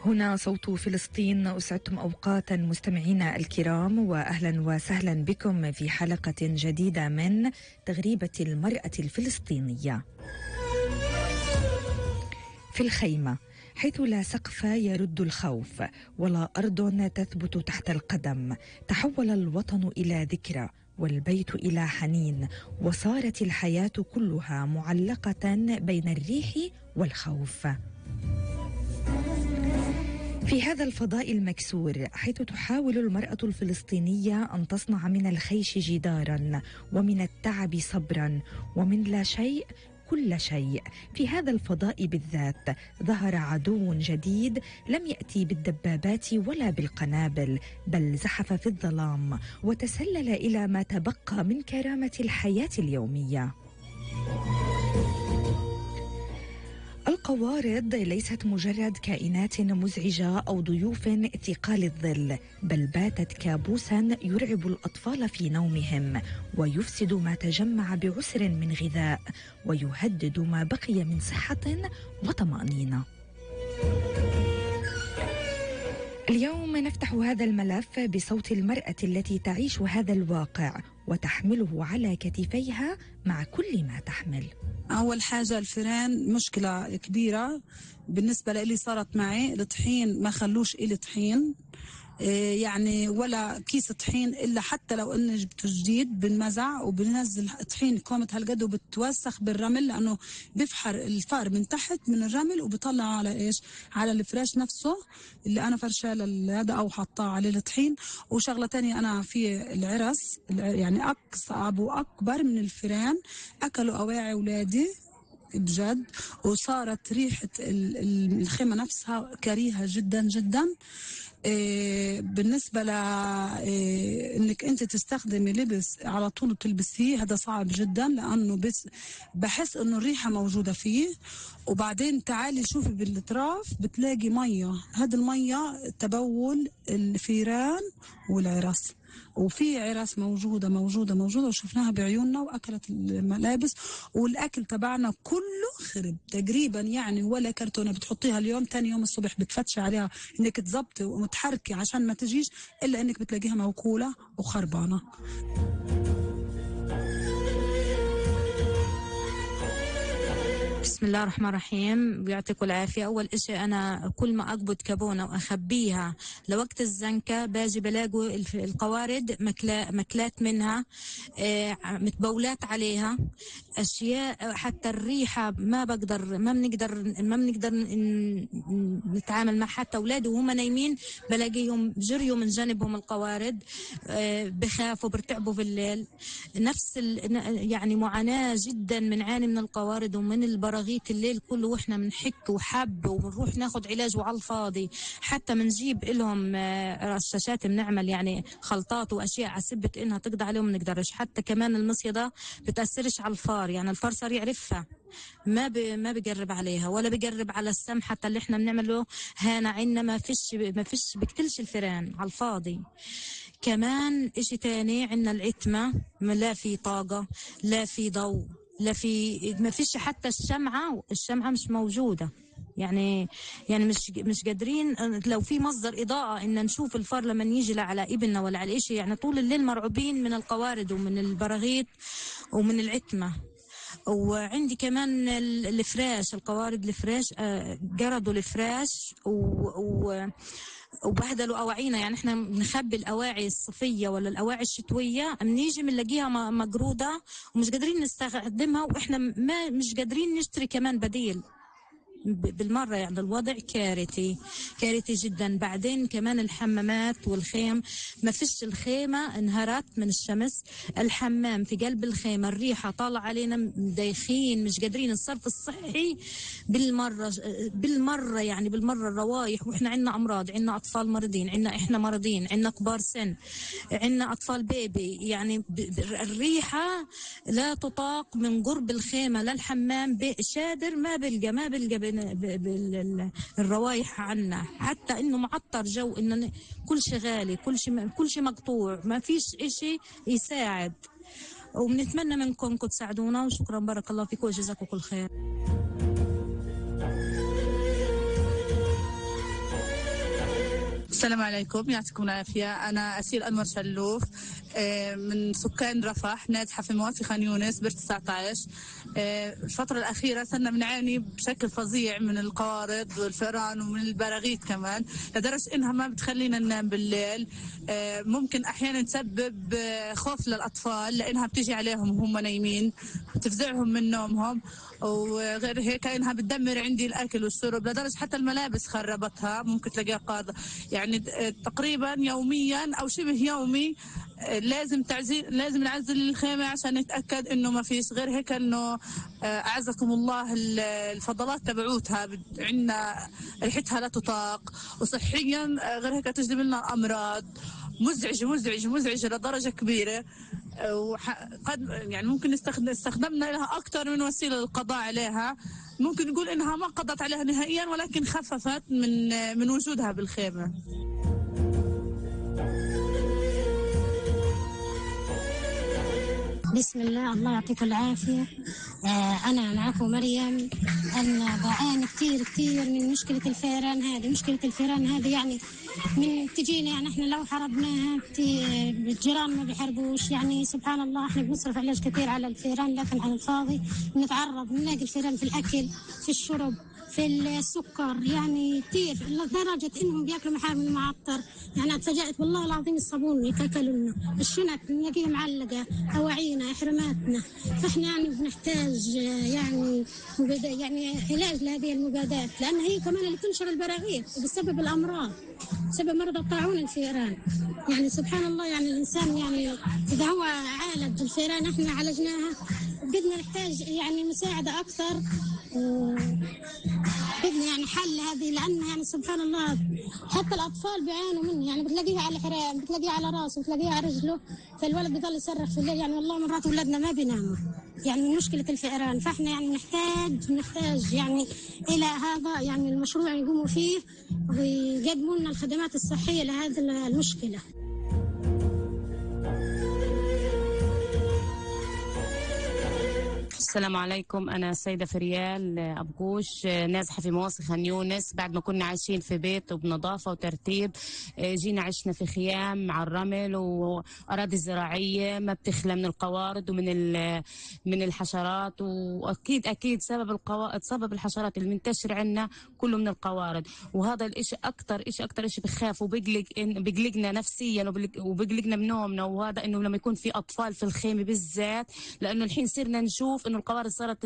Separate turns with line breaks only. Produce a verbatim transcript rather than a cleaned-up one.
هنا صوت فلسطين. أسعدتم أوقاتا مستمعينا الكرام، وأهلا وسهلا بكم في حلقة جديدة من تغريبة المرأة الفلسطينية. في الخيمة حيث لا سقف يرد الخوف ولا أرض تثبت تحت القدم، تحول الوطن إلى ذكرى والبيت إلى حنين، وصارت الحياة كلها معلقة بين الريح والخوف. في هذا الفضاء المكسور حيث تحاول المرأة الفلسطينية أن تصنع من الخيش جدارا ومن التعب صبرا ومن لا شيء كل شيء، في هذا الفضاء بالذات ظهر عدو جديد لم يأتي بالدبابات ولا بالقنابل، بل زحف في الظلام وتسلل إلى ما تبقى من كرامة الحياة اليومية. القوارض ليست مجرد كائنات مزعجة أو ضيوف ثقال الظل، بل باتت كابوسا يرعب الأطفال في نومهم، ويفسد ما تجمع بعسر من غذاء، ويهدد ما بقي من صحة وطمأنينة. اليوم نفتح هذا الملف بصوت المرأة التي تعيش هذا الواقع وتحمله على كتفيها مع كل ما تحمل.
أول حاجة الفيران مشكلة كبيرة بالنسبة لي، صارت معي الطحين ما خلوش إلي طحين، يعني ولا كيس طحين إلا حتى لو إني جبته جديد بنمزع وبننزل طحين كومة هالقد وبتوسخ بالرمل، لأنه بفحر الفار من تحت من الرمل وبطلع على إيش، على الفراش نفسه اللي أنا فرشاه هذا أو حطاه عليه الطحين. وشغلة تانية أنا في العرس يعني أصعب وأكبر من الفيران، أكلوا أواعي أولادي بجد، وصارت ريحة الخيمة نفسها كريهة جدا جدا. إيه بالنسبة ل إيه انك انت تستخدمي لبس على طول وتلبسيه، هذا صعب جدا، لانه بس بحس انه الريحة موجودة فيه. وبعدين تعالي شوفي بالاطراف بتلاقي مية، هذا المية تبول الفيران والعرس، وفي عرس موجودة موجودة موجودة وشفناها بعيوننا وأكلت الملابس، والأكل تبعنا كله خرب تقريبا، يعني ولا كرتونة بتحطيها اليوم تاني يوم الصبح بتفتشي عليها إنك تزبطي ومتحركي عشان ما تجيش، إلا إنك بتلاقيها موكولة وخربانة.
بسم الله الرحمن الرحيم، بيعطيكم العافية. أول إشي أنا كل ما أقبض كابونة وأخبيها لوقت الزنكة باجي بلاقوا القوارض مكلا مكلات منها، آه متبولات عليها أشياء، حتى الريحة ما بقدر ما بنقدر ما بنقدر نتعامل مع، حتى أولادي وهم نايمين بلاقيهم جريوا من جانبهم القوارض، آه بخافوا برتعبوا بالليل. نفس يعني معاناة جدا بنعاني من القوارض ومن البراغيث الليل كله، واحنا بنحك وحب وبنروح ناخد علاج وعلى الفاضي، حتى بنجيب لهم رشاشات بنعمل يعني خلطات واشياء على سبة انها تقضي عليهم، ما نقدرش. حتى كمان المصيدة بتأثرش على الفار، يعني الفار صار يعرفها، ما ب... ما بيقرب عليها ولا بيقرب على السم، حتى اللي احنا بنعمله هنا عنا ما فيش ما فيش بقتلش الفيران على الفاضي. كمان اشي تاني عنا العتمة، لا في طاقة لا في ضوء لا في، ما فيش حتى الشمعة، الشمعة مش موجودة، يعني يعني مش مش قادرين لو في مصدر إضاءة إن نشوف الفار لما يجي على ابننا ولا على إشي، يعني طول الليل مرعوبين من القوارض ومن البراغيث ومن العتمة. وعندي كمان الفراش، القوارض الفراش جردوا الفراش و وبهدلوا أواعينا، يعني احنا بنخبي الأواعي الصيفية ولا الأواعي الشتوية، بنيجي بنلاقيها مجرودة ومش قادرين نستخدمها، واحنا ما مش قادرين نشتري كمان بديل بالمرة، يعني الوضع كارثي كارثي جدا. بعدين كمان الحمامات والخيم، ما فيش، الخيمة انهارت من الشمس، الحمام في قلب الخيمة الريحة طالع علينا دايخين، مش قادرين. الصرف الصحي بالمرة بالمرة يعني بالمرة الروايح، واحنا عنا أمراض، عنا أطفال مرضين، عنا احنا مرضين، عنا كبار سن، عنا أطفال بيبي، يعني الريحة لا تطاق من قرب الخيمة للحمام، شادر ما بلقى ما بلقى بالروايح عنا، حتى انه معطر جو، انه كل شيء غالي، كل شيء كل شيء مقطوع، ما فيش اشي يساعد. وبنتمنى منكم انكم تساعدونا، وشكرا بارك الله فيكم وجزاكم كل خير.
السلام عليكم، يعطيكم العافية. أنا أسيل أنور شلوف من سكان رفح نازحة في موافي خان يونس بر تسعة عشر. الفترة الأخيرة صرنا بنعاني بشكل فظيع من القوارض والفئران ومن البراغيث كمان، لدرجة إنها ما بتخلينا ننام بالليل. ممكن أحيانا تسبب خوف للأطفال لأنها بتيجي عليهم وهم نايمين، بتفزعهم من نومهم، وغير هيك إنها بتدمر عندي الأكل والشرب، لدرجة حتى الملابس خربتها ممكن تلاقيها قاضة. يعني تقريبا يوميا أو شبه يومي لازم تعزيل لازم نعزل الخيمة عشان نتأكد إنه ما فيش. غير هيك إنه أعزكم الله الفضلات تبعوتها عندنا ريحتها لا تطاق، وصحيا غير هيك تجلب لنا أمراض مزعجة مزعجة مزعجة لدرجة كبيرة. وقد يعني ممكن نستخدم استخدمنا لها أكثر من وسيلة للقضاء عليها. ممكن نقول إنها ما قضت عليها نهائيا، ولكن خففت من من وجودها بالخيمة.
بسم الله، الله يعطيكم العافية. آه أنا معكم مريم. أنا بعاني كتير كتير من مشكلة الفئران هذه. مشكلة الفئران هذه يعني من تجينا، يعني احنا لو حربناها الجيران ما بيحربوش. يعني سبحان الله احنا بنصرف علاج كثير على الفئران، لكن على الفاضي بنتعرض بنلاقي الفئران في الأكل، في الشرب، في السكر، يعني كثير لدرجة إنهم بياكلوا محامل معطر. يعني اتفاجأت والله العظيم الصابون يتاكلوا لنا، الشنط بنلاقيها معلقة، أواعينا، إحراماتنا. فإحنا يعني بنحتاج يعني يعني علاج لهذه المبادات، لأن هي كمان اللي تنشر البراغيث وبسبب الأمراض، بسبب مرض الطاعون الفئران. يعني سبحان الله، يعني الإنسان يعني إذا هو عالج الفئران إحنا عالجناها، بدنا نحتاج يعني مساعدة أكثر، بدنا يعني حل هذه، لأن يعني سبحان الله حتى الأطفال بيعانوا منه. يعني بتلاقيها على الحرام، بتلاقيها على راسه، بتلاقيها على رجله، فالولد بيضل يصرخ في الليل. يعني والله مرات أولادنا ما بيناموا يعني من مشكلة الفئران. فإحنا يعني نحتاج نحتاج يعني إلى هذا يعني المشروع يقوموا فيه ويقدموا لنا الخدمات الصحية لهذه المشكلة.
السلام عليكم، أنا السيدة فريال أبقوش، نازحة في مواصي خان يونس. بعد ما كنا عايشين في بيت وبنظافة وترتيب، جينا عشنا في خيام على الرمل وأراضي زراعية ما بتخلى من القوارض ومن من الحشرات. وأكيد أكيد سبب القوا... سبب الحشرات المنتشرة عندنا كله من القوارض. وهذا الإشي أكتر إشي أكتر إشي بخاف وبقلق بقلقنا نفسيا وبقلقنا بنومنا. وهذا إنه لما يكون في أطفال في الخيمة بالذات، لأنه الحين صرنا نشوف إنه القوارض صارت